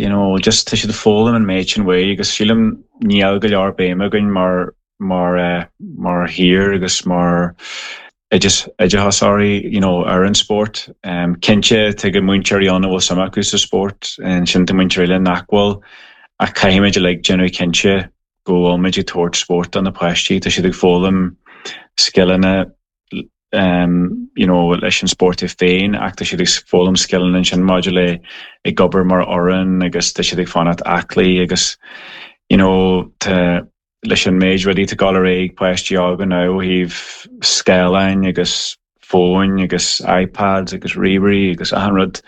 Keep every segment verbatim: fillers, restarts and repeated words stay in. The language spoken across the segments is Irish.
you know, just tá siad ag foghlaim an méid sin uaidh agus sílim níl go leor béime againn mar mar uh, mar thír agus mar oideachasóirí you know, ar an spórt. Um, cinnte tá go múinteoirí ann a bhfuil suim acu sa spórt ansin tá múinteoirí eile nach bhfuil ach caithfimid like déanamh cinnte go bhfuilmuid ag tabhairt spórt do na páistí, tá siad ag foghlaim scileanna um, you know, leis an spórt é féin ach tá siad ag foghlaim scileanna sin maidir le ag obair mar fhoireann agus tá siad ag fanacht aclaí agus you know, tá leis an méid rudaí atá ag dul ar aghaidh páistí óga now ó thaobh scáileáin agus fóin agus iPads agus ríomhairí agus achan rud.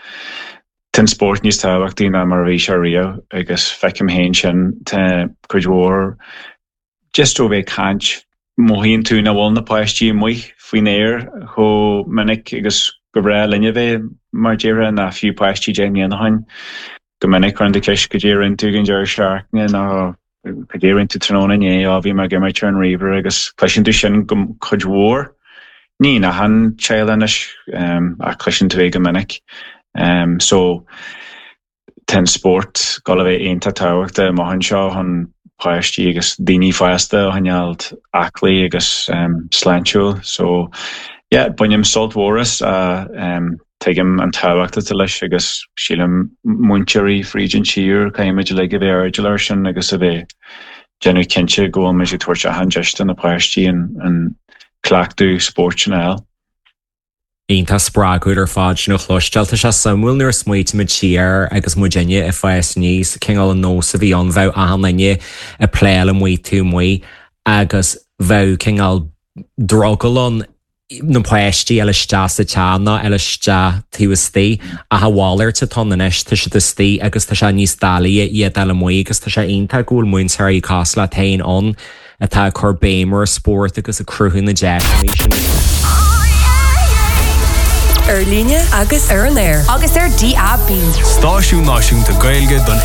Tá an spórt níos tábhachtaí ná mar a bhí sé riamh agus feicim féin sin tá cuid mhór just ó bheith caint mothaíonn tú nach bhfuil na páistí amuigh faoin aer chomh minic agus go breá linne bheith mar déire ná fiú páistí deich mbliana ó shin. Go minic cuireann tú ceist cad é a rinne tú ag an deireadh seachtaine nó cad é a rinne tú tráthnóna inné á bhí mé ag imirt ar an ríomhaire agus cloiseann tú sin go cuid mhór. Ní in achan teaghlach anois um, ach cloiseann tú é go minic. Um, so tá an spórt ag dul a bheith iontach tábhachtach amach anseo chun páistí agus daoine fásta a choinneáil aclaí agus um, sláintiúil. So yeah, bainim sult mhór as uh, um, tuigim an tábhacht atá leis agus sílim múinteoirí fríd an tír caithfimid uilig a bheith airdeallach air sin agus a bheith déanamh cinnte go bhfuil muid ag tabhairt achan deis do na páistí an, an cleachtadh spóirt sin a fháil. Iontach spreagúil ar fad sin a chloisteáil tá sé suimiúil nuair a smaoinímid siar agus muidinne ag fás aníos cineál an nós a bhí ann bheadh achan duine ag playáil amuigh taobh amuigh agus bheadh cineál drogall ann na páistí eile isteach sa teach ná eile isteach taobh istigh ach a mhalairt atá anois tá siad istigh agus tá sé níos doiligh iad eile amuigh agus tá sé iontach go bhfuil múinteoirí cosúil leat féin ann atá ag cur béim ar spórt agus ag cruthú na deiseanna sin. Ar líne agus ar an aer agus ar DAB. Stáisiún Náisiúnta Gaeilge don